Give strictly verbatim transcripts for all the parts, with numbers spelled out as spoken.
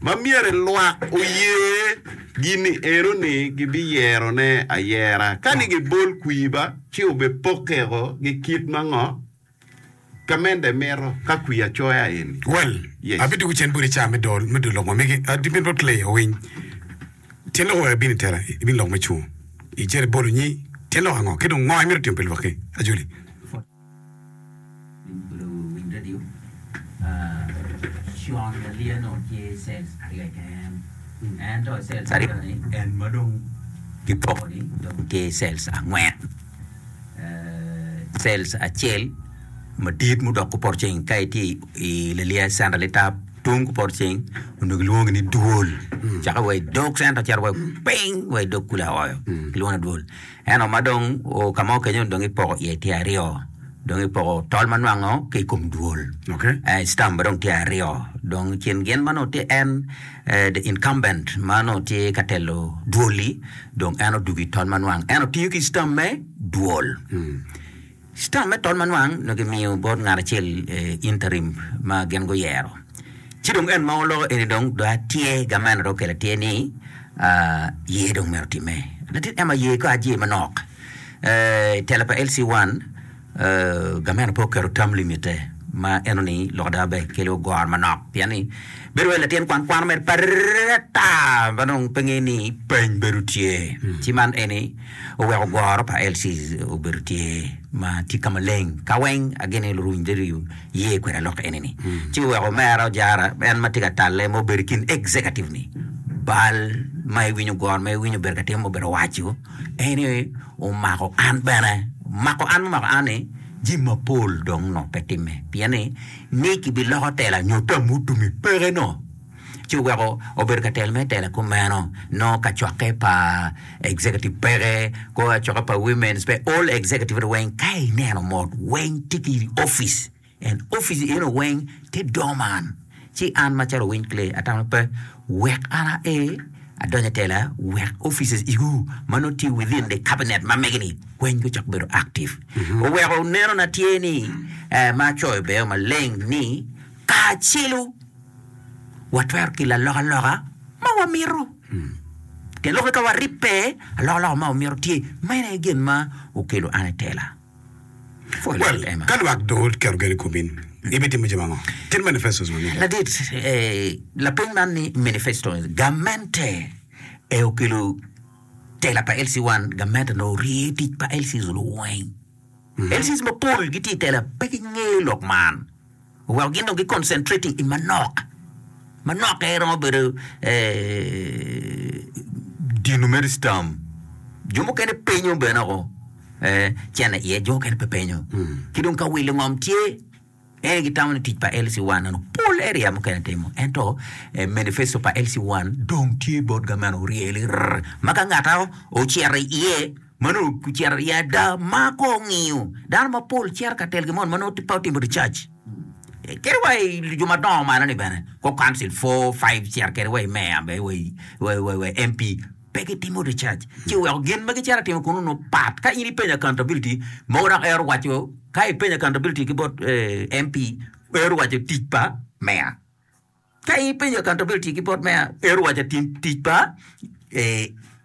Ma myero lwak oye gini eno-ni gibiyerone ayera. Ka ni gibol kwir ba, ci obipokeko gi kit ma ngo? Gamente mito ka kwir acoya eni. Well, Yes. abidwogo cen boti ca me dol me dol lok ma megi. Adibin bot Clay owiny. Tyen lok oweko ibino i tela, ibino lok me cungo. Icito ibolo nyi, tyen lok ango? Ki dong ngo imito timo pi lwakki? Ajoli. Cells acel madit mudok kupoto ceng ka itye i Laliya center litap tung kupoto ceng onongo kilwongo ni dwol caka wa i dog center cito wa piny wa i dog kulu aoyo kilwongo ni dwol ento ma dong ka mo kenyo dong ipoko iye tye aryo dong ipoko tol ma nwango ki i kom dwol stamp ma dong tye aryo dong i kin gin ma nongo tye en the incumbent ma nongo tye ka telo dwol-li dong en odwogo i tol ma nwang ento tiyo ki stamp me dwol. Stamp me tol ma nwang nongo kimiyo bot ngat acel interim ma gin guyero. Ci dong en ma oloko eni dong dong atye gamente dong okelo atye ni ye dong myero otimme. Latin Emma ye ka aye manok. I tela pa L C one gamente pe oketo term limit-te ma eno ni lok ada ber kelo goro manok pien ni bedo wai latin kwan kwano mere parere ata ma dong pe nge ni peny bedo tye ci man eni oweko goro pa L C obedo tye ma tye ka maleng ka weng agene luruny diriyo ye kwede lok eni ni ci oweko omera ojara en ma tye ka talle ma obedo i kin executive ni bal ma iwinyo goro ma iwinyo obedo ka timo obedo waco En aye omako an bene. Mako an mumako an ni jami mapol dong nongo pe timme pien ni ni kibiloko tela nyo tam mutumi peke no ci oweko obedo ka telo me tela kumeno nongo kacokke pa executive peke kacokke pa women's pe all executive weng ka ineno mot weng tye ki office En opic eno weng tye dorman ci an macalo owiny clay atamo pe wek an ae adony atela wek offices igu ma nongo tye within the cabinet ma mege ni weng gucak bedo active oweko neno na tye ni ma acoyo bene maleng ni kacelu watwero kelo alokaloka ma wamito tyen lok ni ka waribbe alokaloka ma wamito tye meno aye gin ma okelo an itela. Well, ka lwak dong oketo gen i komi, ibitimo jami ango? Tit manifestos ma mege. Ladit, eh, lapeny man ni manifesto gamente e okelo tela pa L C one, gamente nongo orye tic pa L Cs weng. L Cs mapol gitye i tela pe gingeyo lok man. Oweko gin dong gi concentrating i manok, manok aye romo bedo dino mere stam. Jo mukene penyo bene oko cene iye, jo mukene pe penyo. Ki dong ka wilo ngom tye, en aye gitamo ni tic pa L C one eno pol area mukene timo. Ento manifesto pa L C one dong tye bot gamente oryeli rr ma ka ngat ocito iye ma nongo ocito iye ada ma ko ongiyo dano mapol cito ka telo gin moni ma nongo pe otimo research kadi wa i jo madongo malo ni bene ko council four five cito kede wa i meya wa i M P pe gitimo research ci oweko gin ma gicito atimo kunu nongo pat ka in ipenyo accountability mogo dok ero waco ka ipenyo accountability ki bot M P ero waco tic pa meya ka in ipenyo accountability ki bot meya ero waco tic pa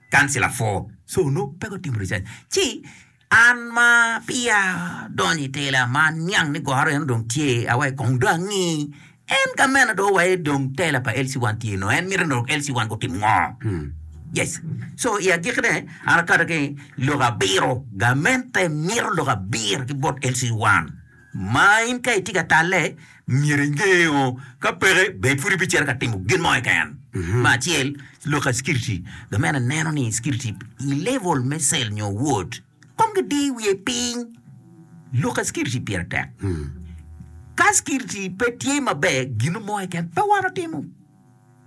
councilor four so nongo pe gutimo research ci an ma peya donyo i tela ma aniang ni goro eno dong tye awaci kong dong angi en gamente dong owaci dong tela pa L C one tye nongo en mito ni L C one gutim ngo yes so i agikine an akato ki lok abiro gamente mito lok abiro ki bot L C one ma in ka itye ka talle myero ingeo ka peke bed pud ibicito ka timo gin mo keken. Me acel lok a security gamente neno ni security i level me cell nyo ward kong gidi wiye piny lok a security pire tek ka security pe tye maber gin mo keken pe wan otimo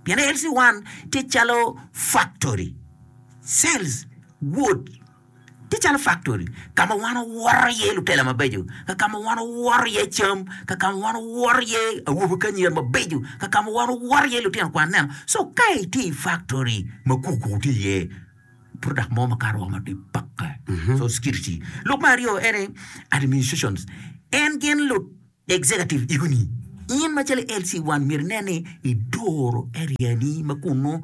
pien L C one tye calo factory cells ward tye calo factory ka ma wan owoto iye lutela mabeco ka ka ma wan owoto iye cam ka ka ma wan owoto iye awobe ki anyira mabeco ka ka ma wan owoto iye lutino kwan neno so ka itye i factory ma kuku tye iye product mo makato woko ma tye peke so security lok me aryo ene administrations en gin lu executive igoni In macalo L C one myero inen ni idoro area ni ma kunu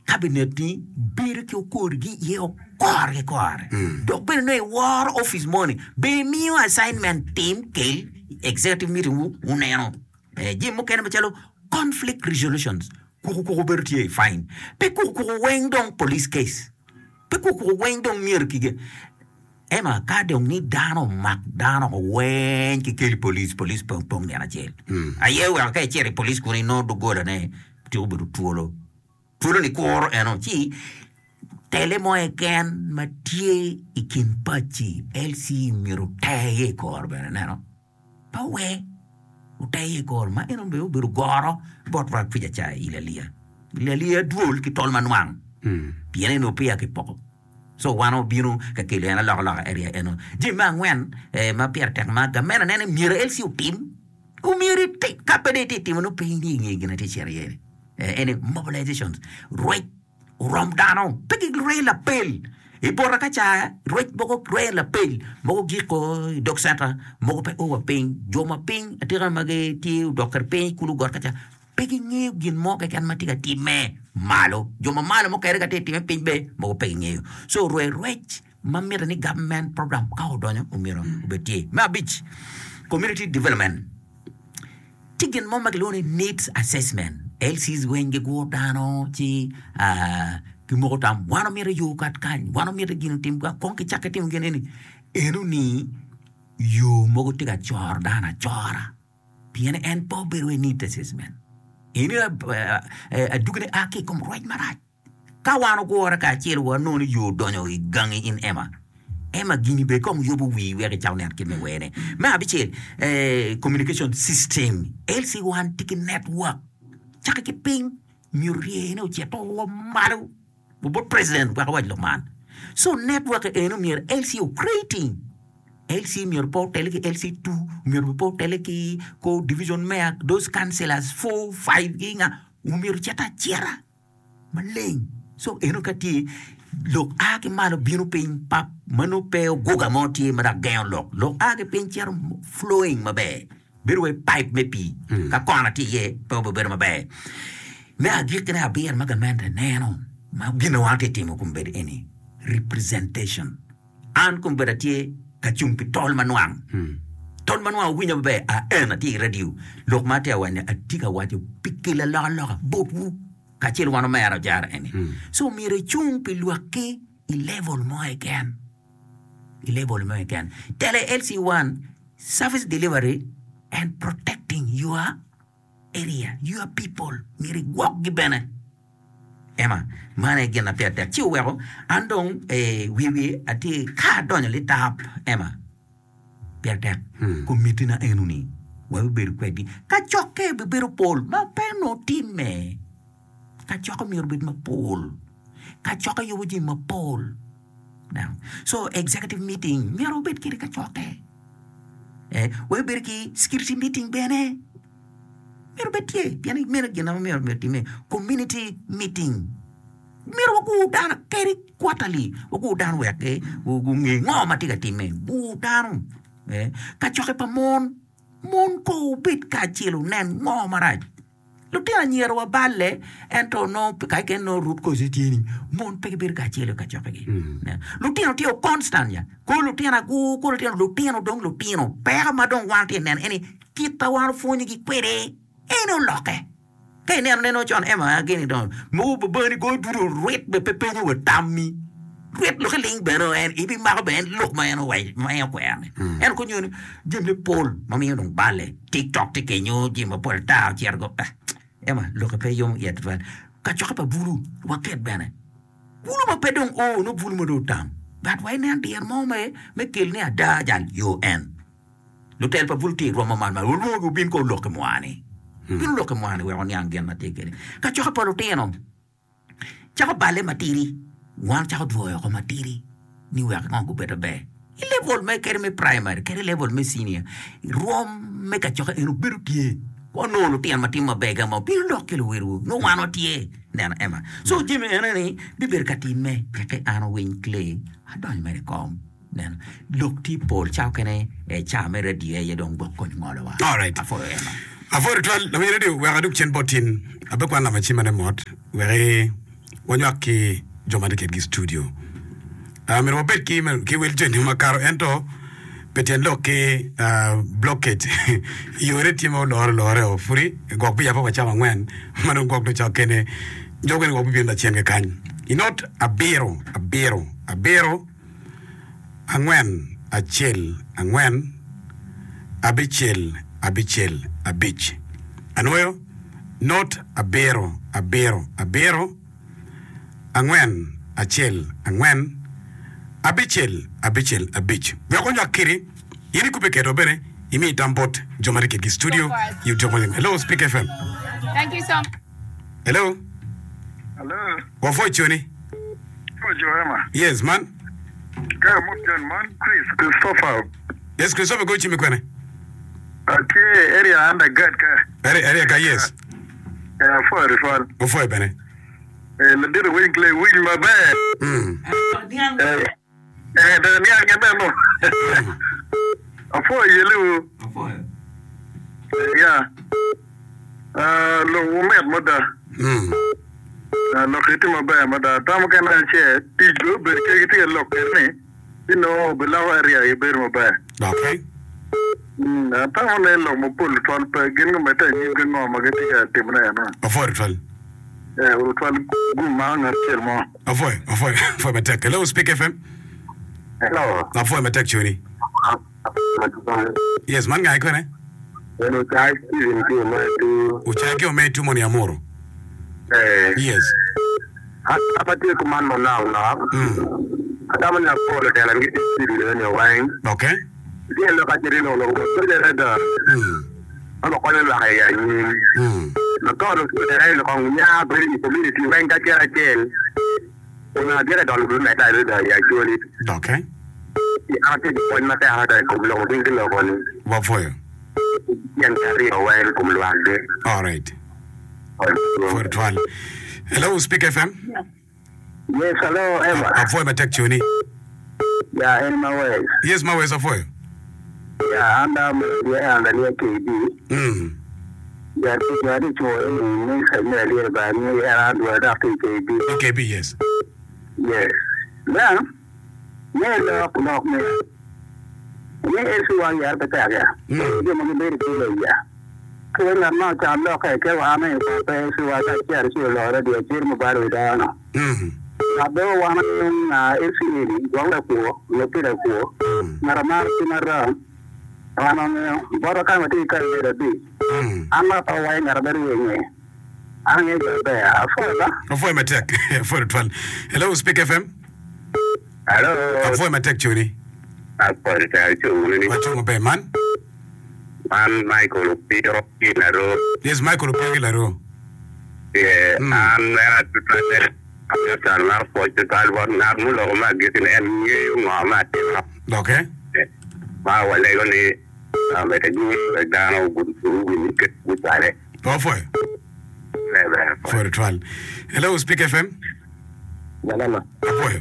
cabinet ni bedo ki okorgi iye okore ki kore. Dok bene nongo iworo office moni, be imiyo assignment tim kel executive meeting wu uneno. Eh, jami mukene macalo conflict resolutions, kuku kuku bedo tye fine. Pe kuku kuku weng dong police case. Pe kuku kuku weng dong myero kige. Ema ka dong ni dano omak dano weng ki keli police, police pong pong nino acel. Aye weko ka icito i police kuni inongo doggola-ne tye obedo twolo. Twolo ni kuro eno ci tele mo keken ma tye i kin paci L C myero oteye i kor bene neno. Pa we oteye i kor ma eno bene obedo goro bot rwak kwica ca i lalia. Lalia dwol ki tol manwang. Pien eno peya kipoko. So wan obino ka kelo en alokaloka area eno. Jami me angwen eh, ma pire tek ma gamena nene myero L C otim. Omyero iti, ka pe dong iti timo nongo pe inge nge gin atye cito iye ni. Eh, ene mobilizations, rwec orom dano, pe girweyo lapel. I bota ka ca rwec mogo rweyo lapel, mogo giko i dog center, mogo pe o wa piny. Jo ma piny atika ma gitye odok kede piny kulu got ka ca, pe gingeyo gin mo keken ma tye ka timme malo. Jo ma malo mukene ka tye ka timme piny be mogo pe gingeyo. So rwe rwec ma mitte ni government program ka odonyo omyero obed tye. Me abic, community development. Tye gin mo ma kilwongo ni needs assessment. L Cs weng giguro dano ci, ah, gimoko tam, wan omito yo kat kany, wan omito gin otim, kong kicakke timo gin eni. Eno ni yo mogo tye ka coro dano acora. Pien en pe obedo i need assessment. Eni adugine a ki i kom rwec marac. Ka wan ogure kacel wanongo ni yo odonyo i gangi in Emma. Emma gini be kong yubo wii wek icak neno kit me wene. Me abicel, eh, communication system. L C one tye ki network. Cakke ki piny, myero ryene ocito wa malo. Bot president wek awac lok man. So network eno myero L C o-creating. L C myero pe otele ki L C two, myero pe otele ki ko division mayor, those councillors four, five gi nga, myero ocit acita maleng. So eno ka tye lok a ki malo bino piny pap, mano pe oguga mo tye ma dok gengo lok. Lok a ki piny cito flowing maber. Bedo wai pipe me pii. Ka kona tye iye pe obedo maber. Me agikkine abiro ma gamente neno ma gin ma wan tye timo kom bedo eni representation. An kom bedo atye ka cung pi tol manwang. Tol manwang owinyo maber, a en atye i radio. Lok ma atye awaco ni atye ka waco pi kelo alokaloka botwu kacel wan omera ojara eni. So myero icung pi lwakki i level mo keken. I level mo keken. Tele L C one service delivery and protecting your area, your people. Myero igwokgi bene. Ema, man aye gin ma pire tek. Ci oweko an dong, eh, wiye wiye atye ka adonyo litap. Ema, pire tek. Komiti na eno-ni wabibedo kwedgi. Kacokke bibedo pol ma pe onongo timme. Kacokke myero obed mapol. Kacokke yubo jami mapol. Now, so executive meeting myero obed kede kacokke. Eh, wabibedo ki security meeting bene. Myero obed tye, pien meno gin ma myero myero timme. Community meeting. Myero wagur dano kadi quarterly, wagur dano wek eh, gunge ngo ma tye ka timme. Gur dano. Eh, kacokke pa mon. Mon ko obed kacel onen ngo marac. Lutino anyira wa balle, ento nongo ka keken nongo root cause tye ni mon pe gibedo kacel i kacokkegi. Ne. Lutino tye o constant ya. Ko lutino agur, ko lutino, lutino dong lutino. Peko ma dong wan tye neno eni kit ma wan opwonyogi kwede en olokke. Ka ineno neno con Emma gini dong mogo babani goyo dudu rwit be pe penyo wa tammi. Rwit lokke ling bene en ibimako bene en lok ma en owaco, ma en okwero-ni. En konyo ni jami me pol ma miyo dong balle. TikTok tye kenyo, jami mapol ata ocito go. Ah, Emma, lokke pe yomo iye tutwal. Kacokke pa bulu waket bene. Bulu ma pe dong o, nongo bulu ma dong otam. But wa inen dyere mo me, me kel ni ada jal yo en. Lutel pa bulu tye i rwom ma malo malo, olwongogi obin ko olokke mwa-ni. Bin olokke mwa-ni wek oniang gin ma tye kwede. Kacokke pa lutino cako balle matidi, wan cako dwoyo oko matidi ni wek ngo gubed maber. I level me kadi me primary, kadi level me senior, rwom me kacokke en obedo tye. Wanongo lutino ma timo maber ga ma obino lok ki luwilwu, nongo wan watye neno Emma. So jami ene ni bibedo ka timme teke an owiny Clay adonyo mere i kom. Neno lok tye pol ca okene, eh, ca me radio aye dong gwok kony ngolo wa. All right. Apwoyo Emma. Apwoyo tutwal lawiny radio wek adug cen bot tin abe kwan lama cim ane mot wek wanywak ki jo ma tye kwedgi i studio. Uh, myero wabed ki, ki wel joni makato ento pe tyen lok ki uh, blockage yore tye ma olore olore o pudi gwok biyabbe wa cawa angwen ma dong gwok dong cawa kene jo mukene gwok bibino lacen kekany. I not abiro abiro abiro angwen acel angwen abicel abicel abic anwoyo not abiro abiro abiro angwen acel angwen abicel abicel abic wek onywak kidi in ikubbe kedwa bene imi tam bot jo ma tye kedgi i studio i otyeno moni. Hello Speak F M. Thank you so much. Hello. Hello. Wapwoyo coni. Pwoyo Joema. Yes man. Ka mot man Chris Christopher. Yes Christopher go cimi kwene. Atye area underguard ka. Area area ka yes. Eh, apwoyo tutwal. Opwoyo bene. Eh, ladit winy clay winy maber. Mm. Eh, eh, dong niang meno. Apwoyo yeliwu. Eh, ya. Ah, lok wumit mada. Mm. Ah, lok itye maber mada. Tam mukene acel, tic be obedo ke gitye ka lok kwede ni, ci nongo obiloko area gi bedo maber. Okay. Mm, atamo ni lok mapol tutwal pe gin gumedde anyim ki ngo ma gitye ka timone eno. Apwoyo tutwal. Eh, tutwal gum mako ngat acel mo. Apwoyo, apwoyo, apwoyo matek. Hello Speak F M. Hello. Apwoyo matek coni. Yes, man ngai kwene? En Ocai Steven ki Ometu. Ocai ki Ometu moni amuru. Eh. Yes. An atye kuman manok nok. Mm. Atamo ni apol otelo ni gitye studio ni weng. Okay. Tye lok acel ni lok lok adada. Mm. Ma konyo lwak i anyim. Mm. Ma ka olok kong nya bedo i community weng kacel acel. Onongo adwoke dolo bimedde adada i actually. Okay. An atye ki pwony matek adada i kom lok ma gin giloko ni. Wapwoyo. Tyen aryo weng i kom lwakgi. All right. Apwoyo tutwal. Hello Speak F M. Yes, hello, Eva. Apwoyo matek coni. Yeah, en Mawes. Yes, Mawes apwoyo. Yeah, an dano yeah, an dano K B. Mm. Yeah, yeah, di chuo ni ni sa me ali ba ni era dwa da ki K B. K B, yes. Yes. Yeah. Ne lok lok me. Ne esi wa yar pe ta ya. Mm. Jo ma gibedo ki lo ya. Ke na ma cha lok ke ke wa me pa pe esi wa ta chiar chi lo ra dia chir mo ba ro da no. Mm. Na do wa na na esi ni gwa la ko lo ti la ko. Mm. Na ra ma ti na ra. Ano me boro ka ma ti ka ye da bi. Mm. An ma pa wa nga ra ber ye nge. An ye ga be a fo ba. Apwoyo matek. Apwoyo tutwal. Hello Speak F M. Hello. Apwoyo matek coni. Apwoyo ta chungu ni. Wachungo be man. Man Michael Opiro ki Laro. Yes, Michael Opiro ki Laro. Yeah, Mm. an mera tutwal tutwal mar pwoc tutwal bot ngat muloko ma agikki ni en ngeyo ngo ma atimo. Okay. Ma walego ni omedde anyim wek dano guwinj gucwale. Apwoyo. Ber, ber. Apwoyo tutwal. Hello Speak F M. Jalama. Apwoyo.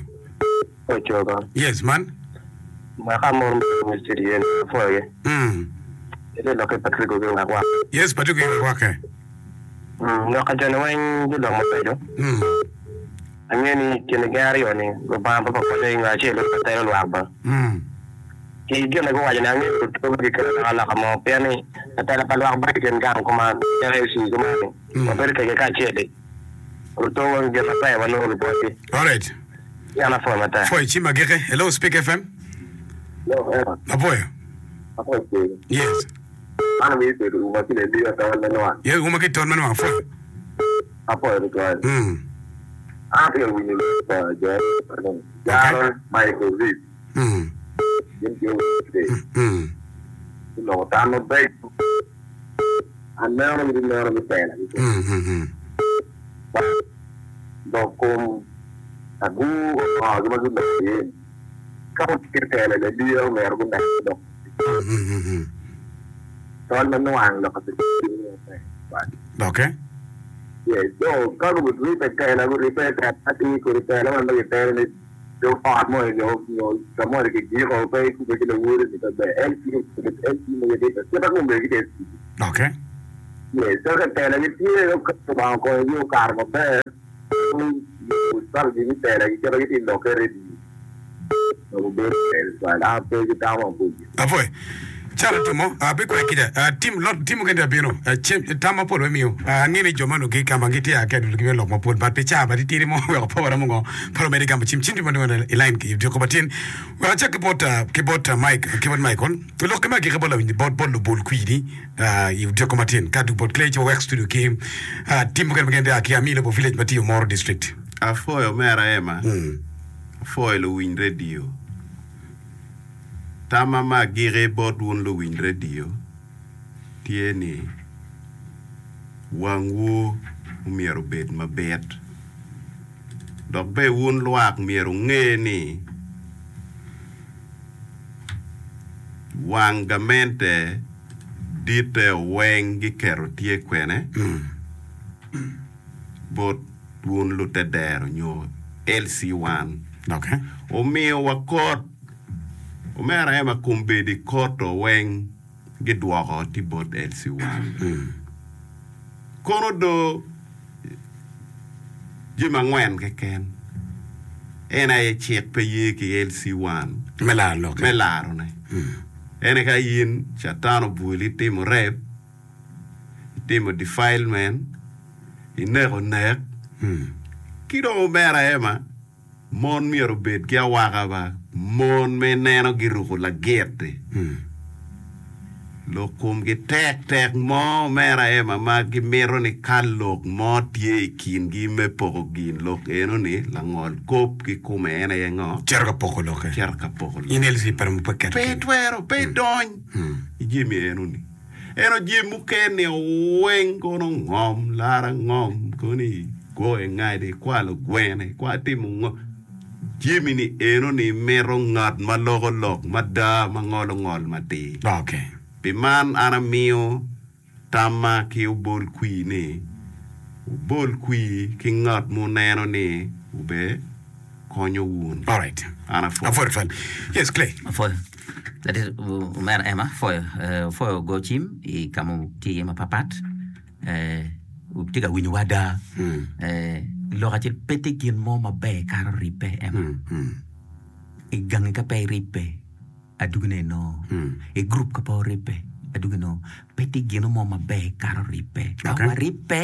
Ochoka. Yes, man. Mwaka moro ma studio en apwoyo. Mm. Ite loke Patrick Oge wakwa. Yes, Patrick Oge wakwake. Mm, loka joni weng jolok mabeco. Mm. Ang'eyo ni kine gin aryo ni Lubanga pa konyo ingo acel pa telo lwak ba. Mm. Ki gin ma guwaco ni ang'eyo lutugo gikelo alokaloka mo pien ni latela pa lwak ba i kin gang kuman calo A C kuman Mm. wabedo kede kacel-li lutugo gin maber wanongo lubotgi. All right. Yan apwoyo matek. Pwoyo cim agike. Hello Speak F M. Hello, Eva. Apwoyo. Apwoyo cim. Yes. An awinjo bedo uma ki leliyo tol me nwang. Yes, uma ki tol me nwang. Apwoyo. Apwoyo tutwal. Mm. An atye ka winyo lok pa jo Jaro Michael Reed. Mm. Gin tye wede. Mm. Giloko tam mabeco. Aneno gitye neno me tela. Mm, mm, mm. Lok kom agu ongo ma giloko iye. Ka otye tela leliyo omyero gunen lok. Mm, mm, mm, mm. Tol me nwang lok Okay. Yes, so ka guripe tela guripe tela atir kodi tela man ma gitelo ni jo ot mo nyo nyo ka mo kigiko pe ikube ki lawode ni pe ber L C L C ma giripe kita kumbe gitye Okay. Yes, so ka tela gitye ka Lubanga okonyogi okato maber, strategy me tela giketo gitye i lokke ready. Dok obedo ber tutwal. An pe ki tam maboco. Apwoyo. Calo timo, abikwayo kica. Ah, tim lot tim mukene abino. Ah, cem, tam mapol wemiyo. Ah, angeyo ni jo ma onongo ki ka ma gitye a ki adul gimiyo lok mapol, but pi caa ba titidi mo weko pe waromo ngo, pe wamedo gamo cim. Cim tye ma dong i line ki odiko matin. Wek acak ki bot, ah, ki bot ah, Mike, ki bot Michael. Lok ki me agikki bot lawiny, bot, bot lubol kwidi, ah, i odiko matin. Ka dong bot Clay ci wawek studio ki, ah, tim mukene ma gin a ki Amilo Village ma tye i Omoro District. Apwoyo omera Emma. Apwoyo luwiny redio. Tamma me agikki bot wun luwiny redio tye ni wangwu omyero obed mabit dok bene wun lwak myero wunge ni wang gamente ditte weng giketo tye kwene bot wun lutedero nyo L C one Okay. omiyo wa kot omera ema kombeddi kot-to weng gidwoko tye bot L C one kono do jami angwen keken en aye cik pe ye ki L C one Me laro lokke. Me larone ene ka in catan obwoli itimo rape, itimo defilement, ineko nek ki dong omera ema mon myero obed ki awaka ba mon ma ineno giruko lagit-ti lok komgi tek tek mo omera ema ma gimito ni ka lok mo tye i kingi me poko gin lok eno-ni langol kop ki kome en aye ngo? Cito ka poko lokke. Cito ka poko In lokke. L C pe romo pe keto Pe kene. itwero, pe idony i jami eno-ni. Ento jami mukene weng kono ngom, lara ngom, kono igoyo ngadi, ikwalo gwene, ikwalo itimo ngo. Jami-ni eno-ni mito ngat ma loko lok mada ma ngolo ngol matir. Okay. Pi man an amiyo tamma ki obol kwir ni, wubol kwir ki ngat muneno ni obe konyo wun. All right. An apwoyo. Apwoyo twal. Yes, Clay. Apwoyo. That is, omera Emma, apwoyo. Eh, apwoyo go cim i ka ma tye iye mapapat. Eh, tye ka winyowa ada. Eh, lok acel pe tye gin mo maber kato ribbe Emma. I gangi ka pe iribbe, adugine inongo. I grup ka pe oribbe, adugine inongo. Pe tye gin mo maber kato ribbe. Ka Okay. waribbe,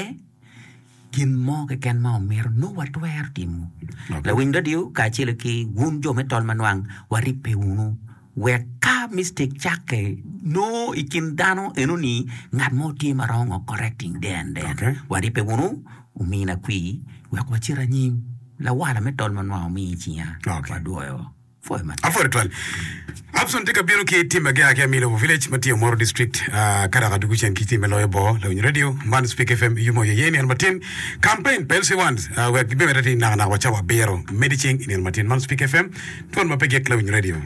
gin mo keken ma omito nongo watwero timo. Okay. Lawiny radio kacel ki wun jo me tol manwang waribbe wunu wek ka mistake cakke nongo i kin dano enoni ngat mo tye ma romo correcting there and then. Okay. Waribbe wunu omina kwir wek wacit anyim lawala me tol manwang omi cinga Okay. wadwoyo pwoyo matek. Apwoyo twal. Abson tye ka bino ki tim ma gia ki Amilo Village ma tye Omoro District, uh, ka dok adugu cen ki tim me loyo bo lawiny radio man Speak F M yumo ye nino matin campaign pa L C one uh, wek gibimedde atir naka naka wa cawa abiro medi ceng i nino matin man Speak F M twon ma pe gik lawiny radio.